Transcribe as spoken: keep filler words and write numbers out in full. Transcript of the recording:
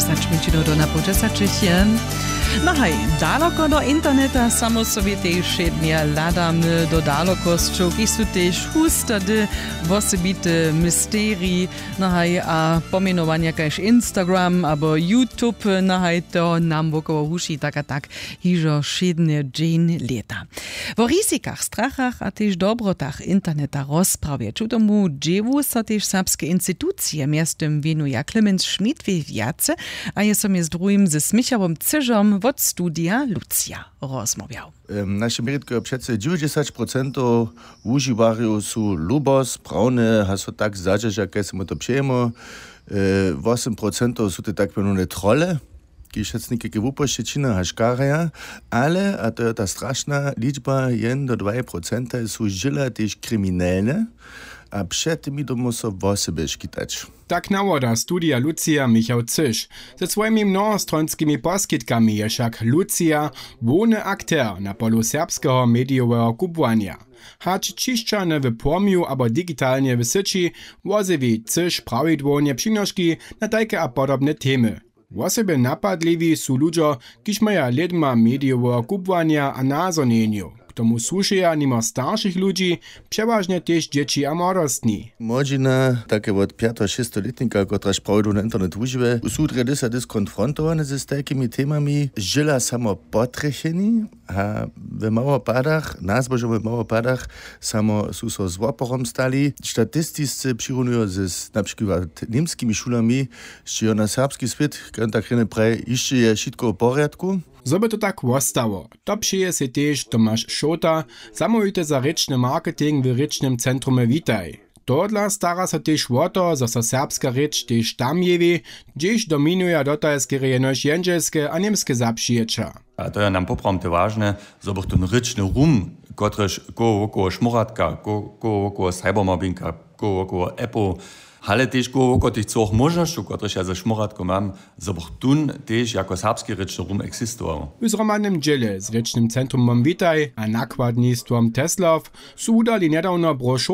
Za čmyčinu do na połdźesaćich je. No haj, daloko do interneta samo sobie tež wšednje hladamy do dalokosćow, kiž su tež hustady wosebity misterij. No haj, a pomjenowanja kaž Instagram abo YouTube, no haj, to nam wokoło huši tak a tak hižo wšědnje dźeń lěta. Wo rizikach, strachach a tež dobrotach interneta rozprawje ći tomu dźěłu so tež serbske institucije, mjeztym wěnuja Clemens Schmidt, wě wjace a je so mjez druhim ze Směchałom Cyžom wot studija Lucija rozmołwjał. Naše měritko je přecy dźewjećdźesać procentow wužiwarjow su lubosć prawne a so tak zadźerža kaž smy to přejemo. Wosym procentow su te tak mjenowne trole, kiž wšetcy někajke wupošćećiny a škaraja. Ale a to je ta strašna ličba, jen do dwaj procenta su žila tež kriminelne. A před tymi dyrmu so wosebje škitać. Tak nawoda studija Lucija Michał Cyš. Ze swojimi mnohostronskimi poskitkami je wšak Lucija hłowny akter na polu serbskeho medijoweho kubłanja. Hač ćišćane w płomju abo digitalnje w syći, wozjewi Cyš prawidłownje přinoški na tajke a podobne temy. Wosebje napadliwi su ludźo, kiž maja lědma medijoweho kubłanja a nazhonjenjow. K tomu słušeja nimo staršich ludźi přewažnje tež dźěći a młodostni. Młodźina, take wot pjato šěstelětnika, kotraž prawidłownje internet wužiwje, su drje dysa dys konfrontowane z tajkimi temami, žila samo potrjecheni. A w małopadach nazbožom w małopadach samo su so z woporom stali. Statistisce přirunujo z na přikład němskimi šulami, sće jo na serbski swět, kan tak rjene praje, hišće je wšitko w porjadku. Zo by to tak wostało, to přeje sej tež Tomaš Šołta, zamołwite za rěčny marketing w rěčnym centrumy Witaj. Tohodla stara so tež wo to, zo so serbska rěč tež tam jewi, hdźež dominuja dotal skerje jenož jendźelske a němske zapřijeća. A to je nam poprawom te wažne, zo bych tón rěčny rum, kotryž koło wokoło šmóratka, koło wokoło cybermobbinga, koło wokoło appow, ale tež koło wokoło tych třoch móžnosćow, kotryž ja ze šmóratkom mam, zo bych tón tež jako serbski rěčny rum eksistował. W zhromadnym dźěle z rěčnym centrumom Witaj a nakładnistwom Teslow su wudali njedawno brošuru